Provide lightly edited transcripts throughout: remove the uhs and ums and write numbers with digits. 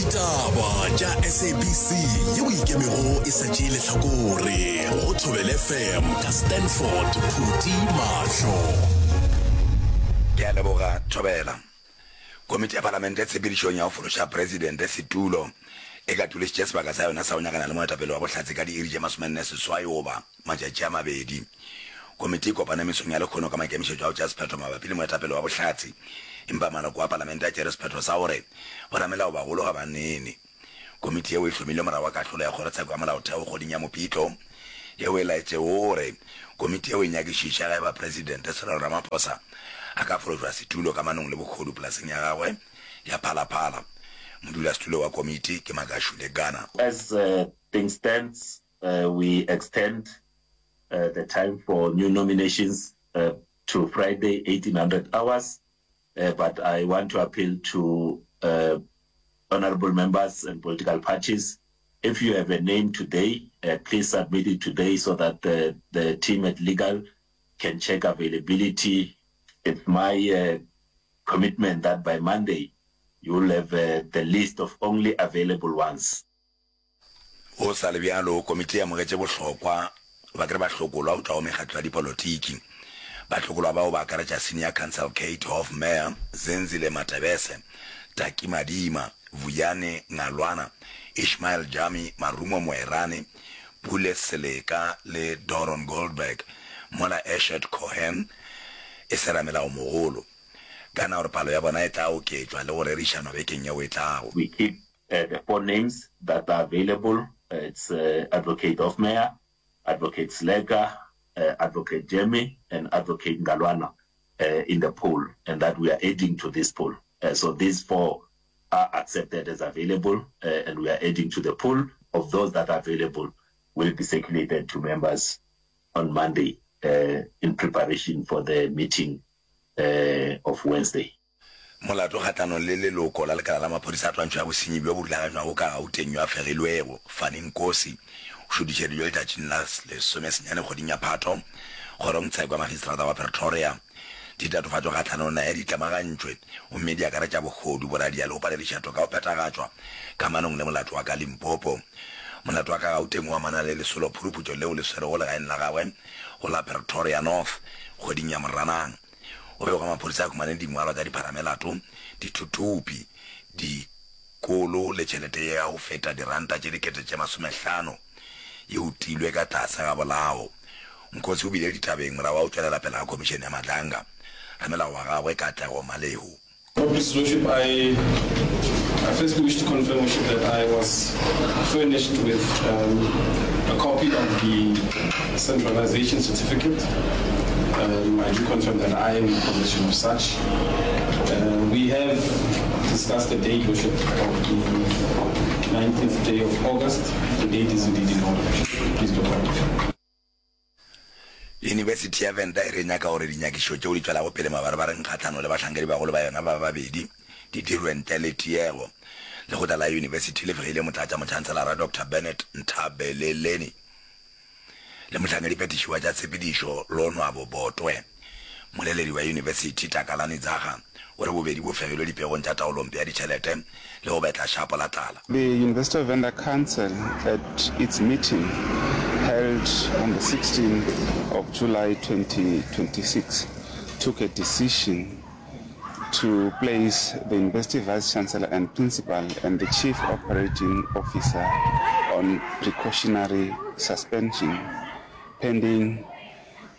Ditaba tša SABC yeo ikemego e sa tšee lehlakore go Thobela FM ka Stanford Phuti Mahlo. Ke a leboga Thobela. Komiti ya Palamente tshepedišong ya go fološa Presidente setulo e katološitše sebaka sa yona sa go nyakana le moetapele wa bohlatse ka diiri tše 48 goba matšatši a mabedi. Komiti e kopane mesong ya lekhono ka maikemišetšo a go tšea sephetho mabapi le moetapele wa bohlatse, empa maloko a palamente a tšere sephetho sa gore boramelao bagolo ga ba nene. Komiti yeo e hlomilwe morago ga kahlolo ya Kgorotsheko ya Molaotheo kgweding ya Mopitlo yeo e laetšego gore komiti yeo e nyakišiše ge eba Presidente Cyril Ramaphosa a ka fološwa setulo kamanong le bohodu polaseng ya gagwe ya Phala Phala. Modulasetulo wa komiti ke Makashule Gana. As things stands, We extend the time for new nominations to Friday 1800 hours, but I want to appeal to honourable members and political parties, if you have a name today, please submit it today so that the, the team at legal can check availability. It's my commitment that by Monday you will have the list of only available ones. Go sa le bjalo, komiti e amogetše bohlokwa ba ke re bahlokolwa go tšwa go mekgatlo ya dipolotiki. Bahlokolwa bao ba akaretša Senior Counsel Kate Hofmeyr, Zenzile Matebese, Taki Madima, Vuyani Ngalwana, Ishmael Jami, Marumo Moerane, Pule Seleka le Doron Goldberg, mola Eshed Cohen e se ramelaomogolo. Ka na gore palo ya bona e tla oketšwa le go rerišanwa bekeng yeo e tlago. We keep the four names that are available, it's Advocate Hofmeyr, Advocate Seleka, Advocate Jemmy and Advocate Ngalwana in the pool and that we are adding to this pool. So these four are accepted as available and we are adding to the pool of those that are available will be circulated to members on Monday in preparation for the meeting of Wednesday. Molato kgahlanong le leloko la lekala la maphodisa a twantšho ya bosenyi bjo bo rulaganywago ka Gauteng yo a fegilwego, Fani Nkosi, o šutišeditšwe letšatšing la lesomesenyane kgweding ya Phato kgorongtsheko ya Magistrata wa Pretoria. Ditatofatšo kgahlanong naye di tlemagantšwe gomme di akaretša bohodu, boradia le go palediša toka go phethagatšwa kamanong le molato wa ka Limpopo. Molato wa ka Gauteng o amana le lesolo phuruphutšo leo le swerego legaeng la gagwe go la Pretoria North kgweding ya Moranang. Go be gwa maphodisa a humane dingwalwa tša dipharamelato, dithuthupi, dikolo le tšhelete ya go feta diranta tše dikete tše masomehlano e utilwe ka tlase ga bolao. Nkosi o bile ditabeng morago ga go tšwelela pele ga Khomišene ya Madlanga. Ramelao wa gagwe, Katlego Malehu. His Worship, I, I firstly wish to confirm, Worship, that I was furnished with um, a copy of the centralization certificate. Um, I do confirm that I am in possession of such. Uh, we have discussed the date, Worship, of the 19th day of August. The date is indeed in order, Worship. Please go ahead. Yunibesithi ya Venda e re e nyaka gore dinyakišišo tšeo di tšwelago pele mabarebareng kgahlano le bahlankedibagolo ba yona ba babedi di dirwe ntle le tiego. Lekgotla la yunibesithi le fegile Motlatšamotšhanselara Doctor Bernard Ntabeleleni le mohlankediphethiši wa tša tshepedišo Lonwabo Botwe. Mmoleledi wa yunibesithi, Takalani Dzaga, o re bobedi bo fegilwe dipegong tša taolompe ya ditšhelete le go betla šapo la tlala. The University of Venda Council at its meeting held on the 16th of July 2026 took a decision to place the University Vice-Chancellor and Principal and the Chief Operating Officer on precautionary suspension pending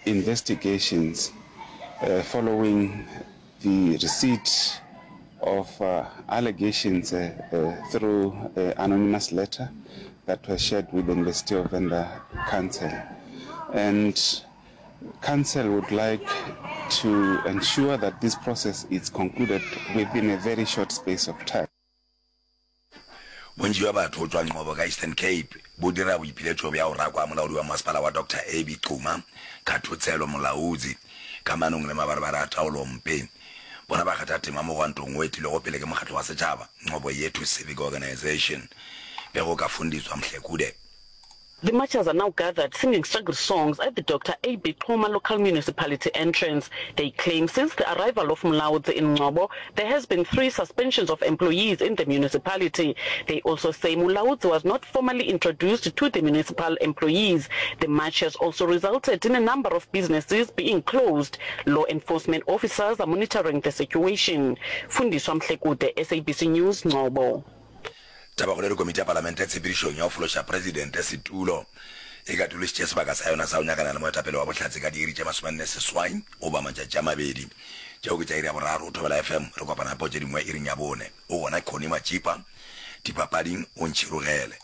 investigations following the receipt of allegations through anonymous letter that was shared with the University of Venda Council. And Council would like to ensure that this process is concluded within a very short space of time. Bontši bja batho go tšwa Ngcobo ka Eastern Cape bo dira boipiletšo bja go rakwa molaodi wa masepala wa Doctor AB Xuma, Khathotselo Molaudzi, kamanong le mabarebare a taolompe. Bona ba kgatha tema mogwantong wo etilwego pele ke mokgatlo wa setšhaba, Ngcobo Yethu Civic Organisation. Pego ka Fundiswa Mhlekude. The marchers are now gathered singing struggle songs at the Dr AB Xuma local municipality entrance. They claim since the arrival of Mulaudzi in Ngcobo, there has been 3 suspensions of employees in the municipality. They also say Mulaudzi was not formally introduced to the municipal employees. The march has also resulted in a number of businesses being closed. Law enforcement officers are monitoring the situation. Fundiswa Mhlekude, SABC News, Ngcobo. Tabakgolo e re komiti ya palamente tshepedišong ya go fološa presidente setulo e katološitše sebaka sa yona sa go nyakana le moetapele wa bohlatse ka diiri tše 48 goba matšatši a mabedi. Tšeo ke tša iri ya boraro. Thobela FM, re kopana gape go tše dingwe iring ya bone. O gona Connie Matšipa, dipapading o ntšhirogele.